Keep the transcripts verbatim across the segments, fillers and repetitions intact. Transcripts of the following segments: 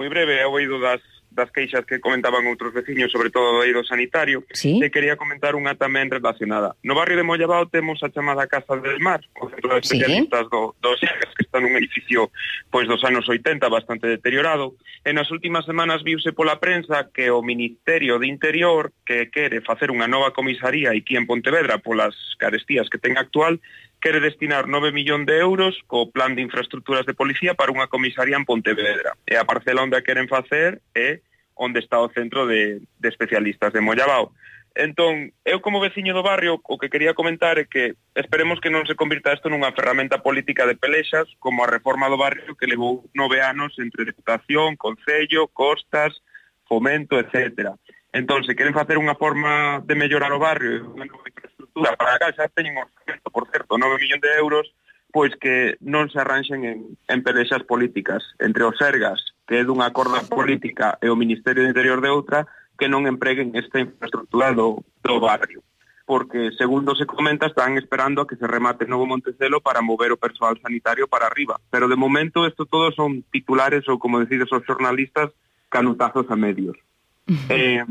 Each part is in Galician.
Moi breve, he oído das, das queixas que comentaban outros veciños, sobre todo do eido sanitario, ¿Sí? e quería comentar unha tamén relacionada. No barrio de Mollabao temos a chamada Casa del Mar, o centro de especialistas ¿Sí? do, do Xegas, que está nun edificio pois dos anos oitenta, bastante deteriorado, e nas últimas semanas viuse pola prensa que o Ministerio de Interior, que quere facer unha nova comisaría aquí en Pontevedra polas carestías que ten actual, quere destinar nove millóns de euros co plan de infraestructuras de policía para unha comisaría en Pontevedra. E a parcela onde a queren facer é onde está o centro de, de especialistas de Mollabao. Entón, eu como veciño do barrio, o que quería comentar é que esperemos que non se convirta isto nunha ferramenta política de pelexas, como a reforma do barrio que levou nove anos entre Deputación, Concello, Costas, Fomento, etcétera. Entón, se queren facer unha forma de mellorar o barrio, unha nova infraestructura para acá, xa teñen orzamento, por certo, nove millóns de euros, pois que non se arranxen en, en pelexas políticas entre os Sergas, que é dunha corda política, e o Ministerio de Interior de outra, que non empreguen esta infraestructura do, do barrio. Porque, segundo se comenta, están esperando a que se remate Novo Montecelo para mover o persoal sanitario para arriba. Pero, de momento, isto todo son titulares ou, como decides os xornalistas, canutazos a medios. Eh,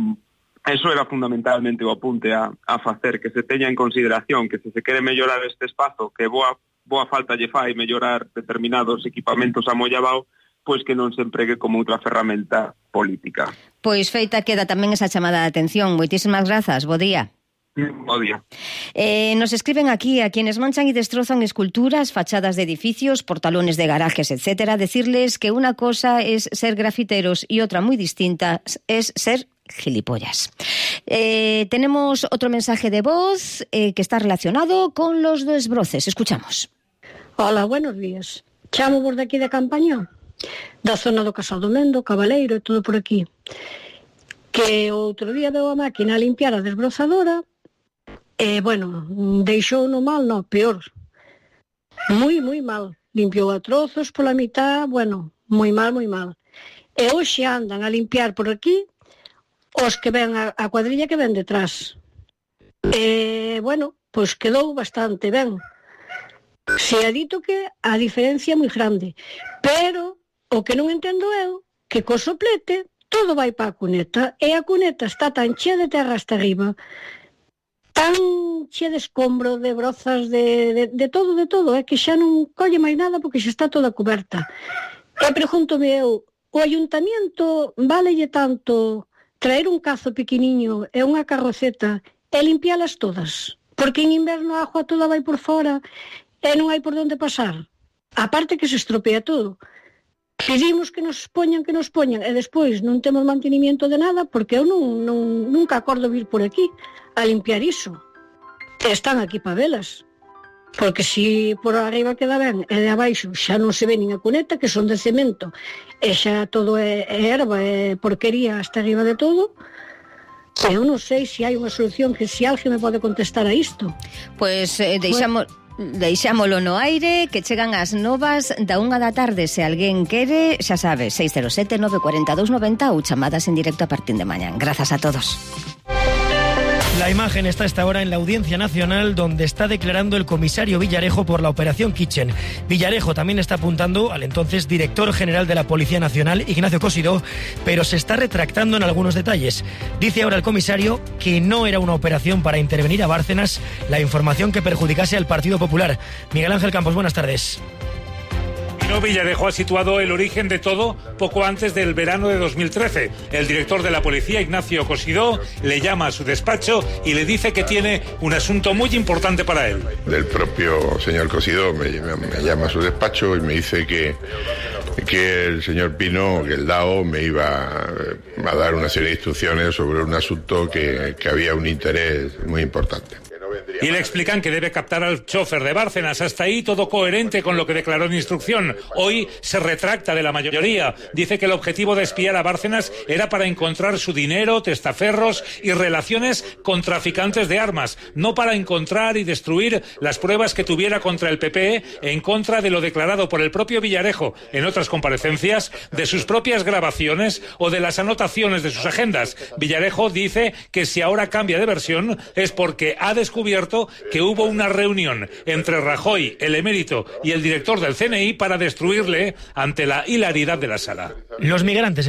eso era fundamentalmente o apunte a, a facer, que se teña en consideración que se se quere mellorar este espazo, que boa, boa falta lle fai mellorar determinados equipamentos a Mollabao, pois que non se empregue como outra ferramenta política. Pois feita queda tamén esa chamada de atención. Moitísimas grazas, bo día. Bo día. Eh, nos escriben aquí a quienes manchan y destrozan esculturas, fachadas de edificios, portalones de garajes, etcétera, decirles que una cosa es ser grafiteros y otra muy distinta es ser gilipollas. Eh, tenemos otro mensaje de voz eh, que está relacionado con los desbroces. Escuchamos. Hola, buenos días. Chamo por de aquí de Campañón, da zona do Casal do Mendo, Cabaleiro e todo por aquí. Que outro día veo a máquina a limpiar a desbrozadora. E, bueno, deixou no mal, no, peor. Moi, moi mal. Limpiou a trozos pola mitad, bueno, moi mal, moi mal. E hoxe andan a limpiar por aquí os que ven a, a cuadrilla que ven detrás. E, bueno, pois quedou bastante ben. Se ha dito que a diferencia é moi grande. Pero o que non entendo eu, que co soplete todo vai para a cuneta, e a cuneta está tan chea de terra hasta arriba, tan chea de escombro, de brozas, de, de, de todo, de todo, é que xa non colle máis nada porque xa está toda coberta. E pregúntome eu, o ayuntamiento válelle tanto traer un cazo pequeniño e unha carroceta e limpialas todas? Porque en inverno a agua toda vai por fora e non hai por onde pasar. Aparte que se estropea todo. Pedimos que nos poñan, que nos poñan, e despois non temos mantenimiento de nada, porque eu non, non, nunca acordo vir por aquí a limpiar iso. E están aquí para velas. Porque se por arriba queda ben e de abaixo xa non se ve nin a cuneta, que son de cemento, e xa todo é, é erva, é porquería hasta arriba de todo. Eu non sei se hai unha solución, que se alguén me pode contestar a isto. Pois eh, deixamos... Bueno. Deixámolo no aire, que chegan as novas da unha da tarde. Se alguén quere, xa sabe, seis cero sete, nove cuatro dos, nove cero ou chamadas en directo a partir de mañán. Grazas a todos. La imagen está a esta hora en la Audiencia Nacional, donde está declarando el comisario Villarejo por la Operación Kitchen. Villarejo también está apuntando al entonces director general de la Policía Nacional, Ignacio Cosidó, pero se está retractando en algunos detalles. Dice ahora el comisario que no era una operación para intervenir a Bárcenas la información que perjudicase al Partido Popular. Miguel Ángel Campos, buenas tardes. Villarejo ha situado el origen de todo poco antes del verano de dos mil trece. El director de la policía, Ignacio Cosidó, le llama a su despacho y le dice que tiene un asunto muy importante para él. El propio señor Cosidó me, me, me llama a su despacho y me dice que, que el señor Pino, que el D A O, me iba a dar una serie de instrucciones sobre un asunto que, que había un interés muy importante. Y le explican que debe captar al chofer de Bárcenas. Hasta ahí todo coherente con lo que declaró en instrucción. Hoy se retracta de la mayoría. Dice que el objetivo de espiar a Bárcenas era para encontrar su dinero, testaferros y relaciones con traficantes de armas, no para encontrar y destruir las pruebas que tuviera contra el P P en contra de lo declarado por el propio Villarejo en otras comparecencias, de sus propias grabaciones o de las anotaciones de sus agendas. Villarejo dice que si ahora cambia de versión es porque ha descubierto cierto que hubo una reunión entre Rajoy, el emérito y el director del C N I para destruirle ante la hilaridad de la sala. Los migrantes